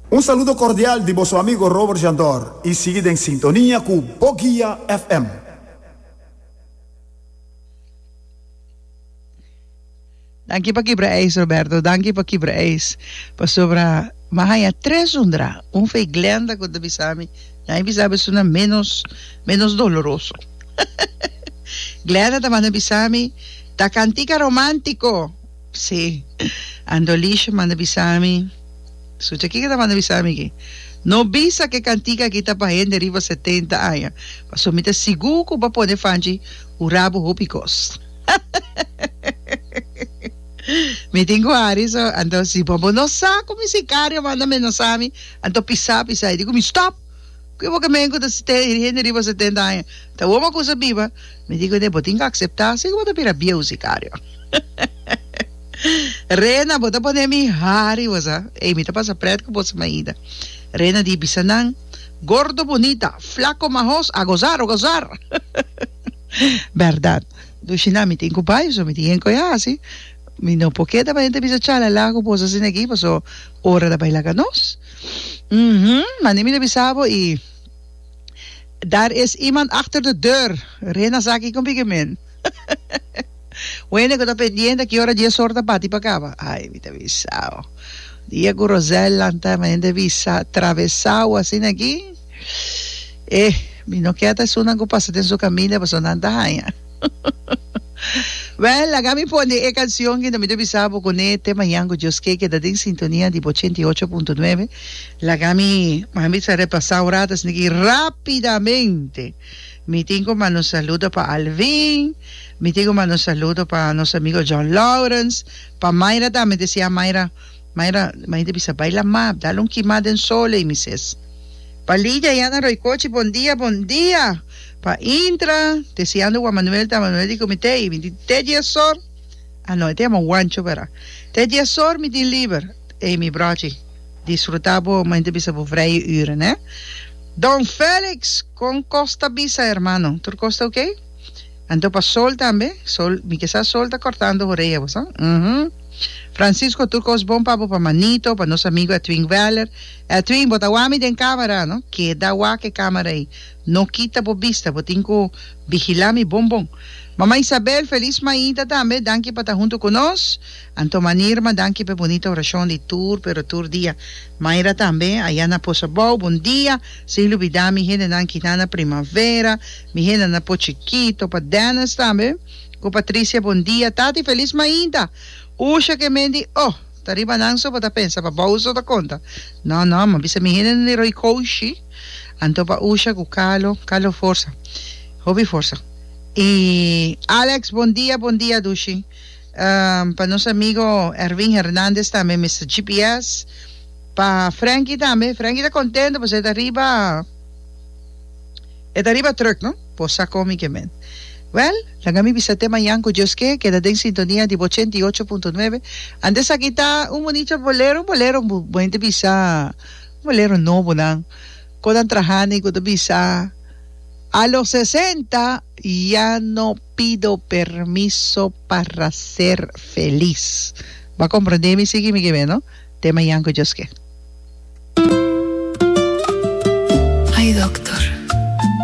Un saludo cordial di boso amigo Robert Jandor y sigui den sintonia cu Boguia FM. Danki pa kibra ijs Roberto, danki pa kibra ijs pasobra m'a haña tres undra, un fei Glenda ku ta bisa mi, nan a bisa mi esuna menos menos doloroso. Glenda ta manda bisa mi ta kantika romantiko, si, Andolisha manda bisa mi. Sucha kiko ta manda bisa mi aki? No bisa ku e kantika aki ta pa hende riba setenta aña, pasobra mi ta sigur ku bo a pone fanchi hura bo hopi kos. Mi tin ku hari so, anto si bo bo no sa ku mi sikario manda menasá mi, anto pisá pisá i di ku mi stòp! Ku bo ke men ku ta hende riba setenta aña? Ta wou bo a kusa biba? Mi di ku ne, bo tin ku akseptá si ku bo ta bira bieu sikario. Rena, bo ta pone mi hari, bo sa. Ey, mi ta pasa pret ku boso maida. Rena di bisa nan, Gordo bonita, flaco mahos, a gozar, a gozar! Berdad. Dushi nan, mi tin ku bai, pasobra mi tin hende ku e hasi. Mi no por keda pa hende bisa chalala ku boso asina aki, pasobra ora ta bai laga nos. Uhum, mane mi ta bisa bo y daar is iemand achter de deur. Rena sa kiko mi ke men. Wende ku ta pendiente ki ora dies or ta bati pa kaba. Ay, mi ta bisao. Dia ku Rosel lanta mi hende bisa travesao asina aki. Eh, mi no ke ta esunnan ku pasa den su kaminda pasobra nan ta haña. Wèl, laga mi pone e kansion ki mi ta bisa bo kuné te mañan ku Dios ke keda den sintonia di bo 88.9. Laga mi, mi bisa repasá un rato asina aki rápidamente. Mi tin ku manda un saludo pa Alvin, mi tin ku manda un saludo pa nos amigo John Lawrence, pa Mayra tambe, desia Mayra, Mayra, Mayra ta bisa bai lamá, dal un kimá den sol ei mi ses. Pa Lidia ya na Roycochi, bon dia, bon dia. Pa Intra, desiando Juan Manuel ta Manuel di ku mi te, mi di te diesor, ah no, e ta yama Juancho bera, te diesor mi tin liber, ei mi brochi. Disfruta bo ma hende bisa bo vrije uren he. Don Felix con cos ta bisa hermano tur cos ta ok? Anto pa sol tambe sol mi ke sa sol ta cortando horea bo sa uhmm Francisco tur cos bon pa bo pa manito pa nos amigo Edwin Weller Edwin bo ta wak mi den camera no keda wak e camera ey no kita bo bista bo tin cu vigila mi bon bon Mama Isabel feliz mainta tambe danki pa ta hunto cu nos. Anto Manirma danki p'e bunita orashon di tur pero tur dia. Mayra tambe aya na Pozo Abou bon dia, sin lubida mi hendenan kinan na Primavera, mi hendenan na Po Chikito, pa Dennis tambe ku Patricia bon dia, Tati felis mainta, Usha ke men di oh ta riba nan so bo ta pensa pa bou so ta konta, no no mi a bisa mi hendenan di Roy Koushi anto pa Usha ku Carlo, Carlo forsa hopi forsa i Alex bon dia bon dia dushi. Pa nos amigo Erwin Hernandez tambe Mister GPS. Pa Frankie tambe. Frankie ta contento pasobra e ta riba e ta riba truck no. Por sa con mi ke men. Well, laga mi bisa te mañan cu Dios ke keda den sintonia di bo 88.9. Antes aki ta un bunito bolero, un bolero bo hende bisa un bolero nobo nan. Con nan trahani cu ta bisa a los 60 ya no pido permiso para ser feliz. Bo a comprende mi sigui mi ke no? Te mañan cu Dios ke.